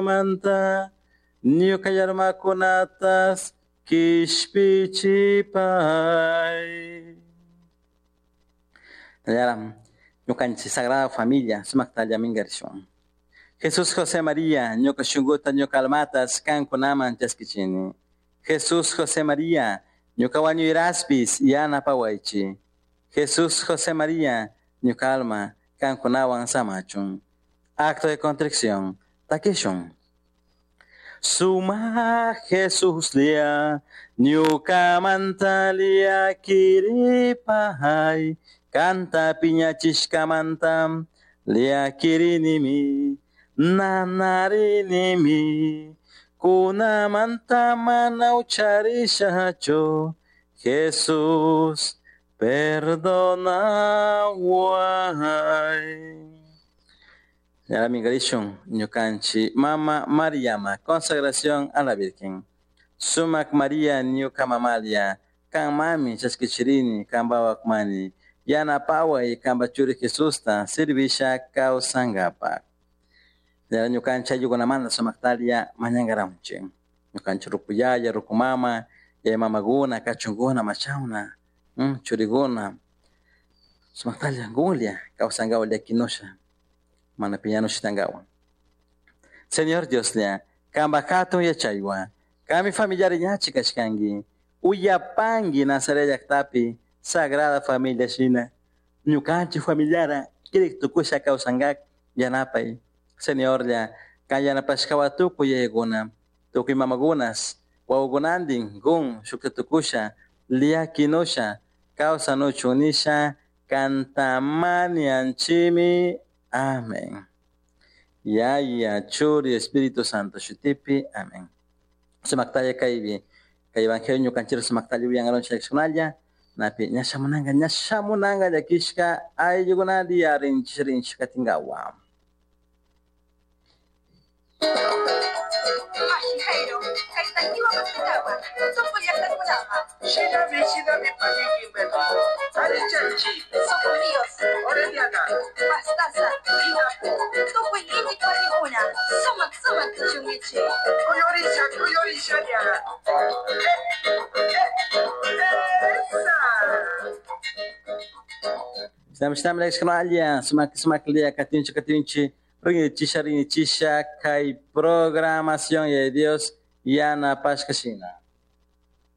Manta ñuka yarmakunatas kishpichipay. Yaram ñukanchik Sagrada Familia sumaktalla minkarishun. Jesús José María ñuka shunkuta ñuka almatas kankunaman chaskichini. Jesús José María ñuka wañuyraspis yanapawaychi. Jesús José María ñuka alma kankunawan samachun. Acto de contrición. Takishun. Suma Jesús lia ñukamanta llakiripay kanta piñachishkamanta llakirinimi nanarinimi kunamanta mana ucharishachu Jesús perdonaway. Yara ñukanchik mama Mariama consagración a la Virgen. Sumak María ñuka mamalia kan mami chaskichirini kanpawak mani yanapaway kanpa churi Jesusta servisha kawsankapak. Yara ñukanchik ayllukunamanta sumaktalla mañankaramunchik. Ñukanchik ruku yaya, ruku mama, yaya mamakuna, kachunkuna, machawna, churikuna sumaktalla kunlla kawsankawan llakinusha mana piñanushitankawan. Señor Dioslla, kanpak hatun yachaywan, kanmi familiari ñachi kashkanki, uyapanki Nazaret llaktapi Sagrada Familia shina, ñukanchik familiara kirik tukusha kawsankak yanapay. Señorlla, kan yanapashkawa tukuy yayakuna, tukuy mamakunas, wawakunantin kun shukta tukusha, llakinusha, kawsanuchun nisha, kantamanianchimi. Amén. Yaya, Churi, Espíritu Santo, shutipi. Amén. Sumaktalla kaypi, kay evangelio ñukanchik sumaktalla uyankaronchik llakishkunalla, napi ñashamunanka ñashamunanka llakishka ayllukunata rinchik rinchik katinkawa. Mashi Jairo, kay takiwa maspitawa, tukuy llaqtakunama. Shinami, shinami, paniki, Arichanchi, Sucumbíos, Orellana, Pastaza, Tinapo, tukuy iñik warmikuna, sumak sumak tushunkichik. Kuyorisha, Kuyorisha, ¡Esa! Shinami, shinami llakishkunalla, sumak sumaklla katinchik katinchik, rinichisha rinichisha kay programación ya Dios yanapashka shina.